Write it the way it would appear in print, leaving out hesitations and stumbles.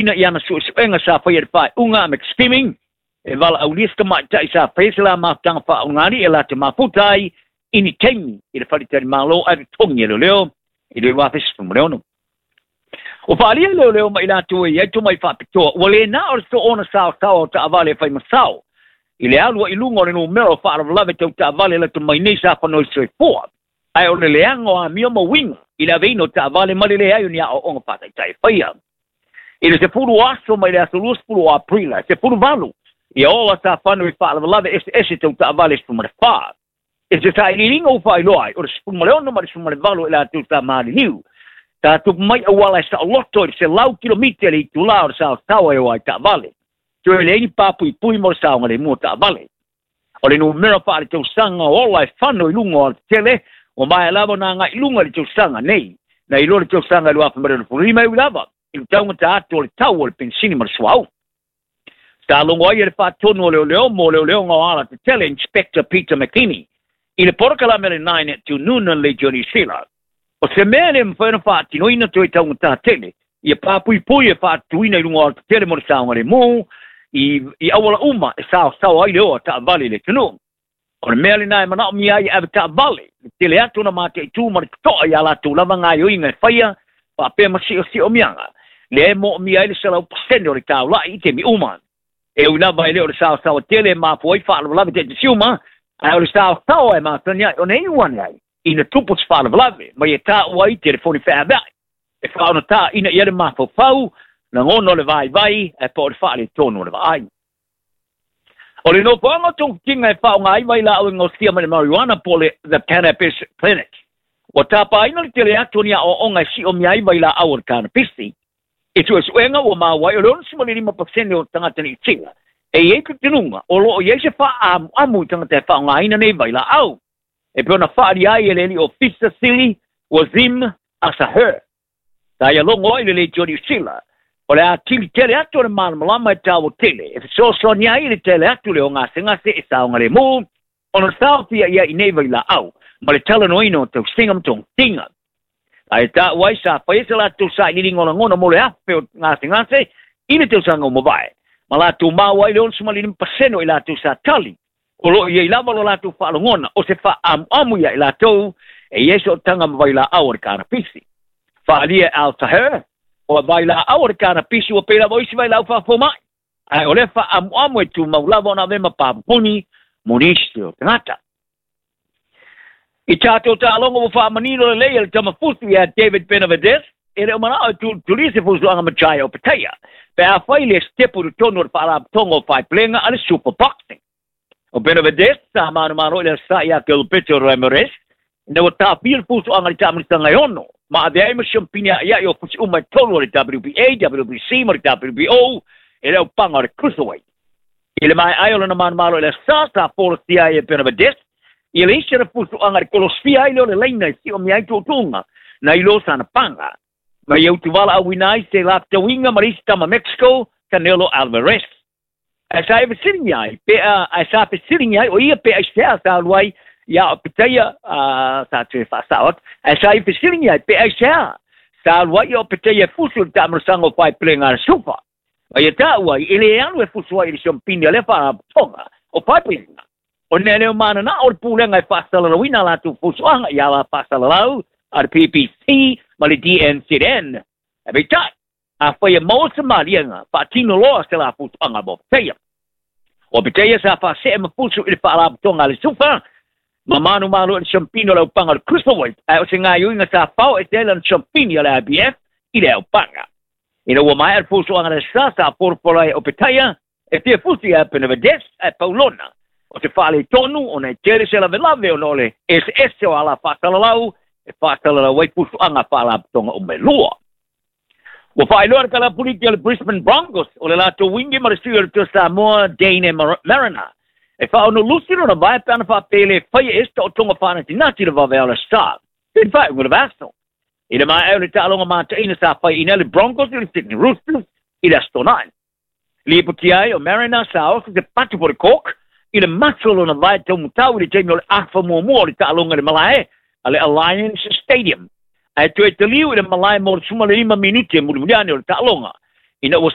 Ina i ana suesuega sa faia i le faaiuga a McSkimming e valaaulia se tamaitai sa faia se la mafutaga faaogalii e latou mafuta ai i ni taimi i le faletalimalo ae totogi e leoleo i le 2016. Ua faaalia e leoleo ma i latou e i ai tomai faapitoa ua le na o le soona saosaoa o taavale e fai ma sao i le alu ai i luga o le numera o faalavelave tau taavale lata mai nei sa fanoi soifua, ae o le leaga o amio ma uiga i le aveina o taavale ma le leai o ni aoaoga faataitai e faia. I le 10 aso mai le aso 20 o Aperila, e 18 ia ola sa fano i faalavelave eseese tau taavale 14. E se sailiiliga ua faailoa ai, o le 16 ma le 18 i latou sa maliliu. Sa tupu mai auala e saoloto i le 100 kilomita i le itulā o le saosaoa e o ai taavale. Toe leai ni papuipui mo le saogalemu o taavale. O le numera faaletausaga o ola e fano i luga o alatetele, ua maea lava ona agai i luga i le tausaga nei, nai lo le tausaga 2025 e ui lava i le taugata atu o le tau o le penisini ma le suauu. Sa logo ai e le faatonu o leoleo mo leoleoga o alatetele, Inspector Peter McKinney, i le polokalame a le Nine at Noonan le Johnny Sila. O se mea e le mafai ona faatinoina toe taugata tele ia papuipui e faatutuina i luga o alatetele mo le saogalemu i auala uma e saosaoa ai le oa taavale i le atunuu. O le mea lena e manaomia ai e ave taavale, le tele atu ona mataitu ma le totoa i a latou lava gaoioiga e faia faapea ma siosiomia lea e moomia ai le 100% o le taulai i taimi uma. E ui lava e le o le saosaoa tele e mafua ai faalavelave taitasi uma, ae o le saosaoa e masani ai ona e iu ane ai ina tupu se faalavelave mai e taua ai telefoni feaveai e faaogatā ina ia le mafaufau, lagona o le vaivai ae po o le faaletonu o le vaai. O le nofoaga o togafitiga e faaaoga ai vailaau e gaosia mai le marijuana po o le The Cannabis Clinic. Ua tapaina le tele atu o ni aoaoga e siomia ai vailaau o le kanapisi. I suesuega ua maua ai o le 65% o tagata Niu Sila e i ai talitonuga o lo o i ai se faaamuamu i tagata e faaaogaina nei vailaau. E pei ona faaalia ai e le alii ofisa sili Wazim Asaher. Sa ia logo ai le leitio Niu Sila, o le atili tele atu o le malamalama e taua tele, e fesoasoani ai i le tele atu le ogasegase e saogalemu, ona saofia ia i nei vailaau, ma le talanoaina o tausiga ma togafitiga. Ae taua ai sa faia se latou sailiiliga o lagona mo le 1,000 o gasegase i le tausaga ua mavae, ma latou maua ai le 65% o i latou sa tali, o lo o i ai lava lo latou faalogona o se faaamuamu ia i latou e i ai sootaga ma vailaau o le kanapisi. Faaalia e Al Taher, o vailaau o le kanapisi ua pei lava o isi vailaau faafomai, ae o lea faaamuamu e tumau lava ona ave ma papupuni mo nisi o tagata. I tatou taaloga ua faamanino lelei e le tamafusi ia David Benavidez, e le o manao e tulitulia se fusuaga ma Jai Opetaia, pe afai le sitepu i totonu o le faalapotopotoga o faepulega a le Super Boxing. O Benavidez sa manumalo i le aso ia Gilberto Ramirez, ina ua taofia le fusuaga i le taamilisaga e 6, ma avea ai ma siampini aiai o fusi uma e 3 o le WBA, WBC ma le WBO e le aupaga o le Cruiserweight. I le maeae o lona manumalo i le aso sa folasia ai e Benavidez, ia le isi ana fusuaga i le kolosifia ai lea o le laina e siomia ai tuutuuga nai lo sana paga. Ma ia utuvala auina ai se lafetauiga ma le isi tama Mexico, Canelo Alvarez. Ae sa e fesiligia ai, pe ae sa fesiligia ai o ia pe aisea sa alu ai ia Opetaia, sa toe faasao atu, ae sa i fesiligia ai pe aisea sa alu ai ia Opetaia e fusu i le taamilisaga o faepulega a le Sufa. Ma ia taua ai, e le alu e fusu ai i le siompini a lea faalapotopotoga o faepulega. O nea leo manana o le pulega e faasalalauina a latou fusuaga i ala faasalalau a le PPC ma le DNZN. Ae peitai, afai e maua se maliega, faatino loa se la fusuaga mo Opetaia. O Opetaia sa faasee ma fusu i le faalapotopotoga a le Sufa, ma manumalo i le siampini o le aupaga o le Cruiserweight, ae o se gaoioiga sa fao ese ai lana siampini a le IBF i le aupaga. Ina ua maea le fusuaga le sa sa folafola ai e Opetaia, e fia fusi ia Benavidez ae paulona. O se faaletonu ona e tele se lavelave ona o le eseese o ala faasalalau e faasalalau ai fusuaga faalapotopotoga uma e lua. Ua faailoa le kalapuliki o le Brisbane Broncos o le latou wingi ma le sui o le Toa Samoa Dane Mariner. E faaono lusi lona vae pe ana faapea e le faia e se taotoga faanatinati le vavea o le Star. I le faaiuga o le vaiaso. I le maea o le taaloga mataina sa faiina le Broncos i le Sydney Roosters i le Aso Toonai. Lipotia ai o Mariner sa oso se patu po le cork i le maso o lona vae taumatau i le taimi o le afa muamua o le taaloga i le malae a le Alliance Stadium. Ae toe taliu i le malae mo le 15 minute mulimuli ane o le taaloga. Ina ua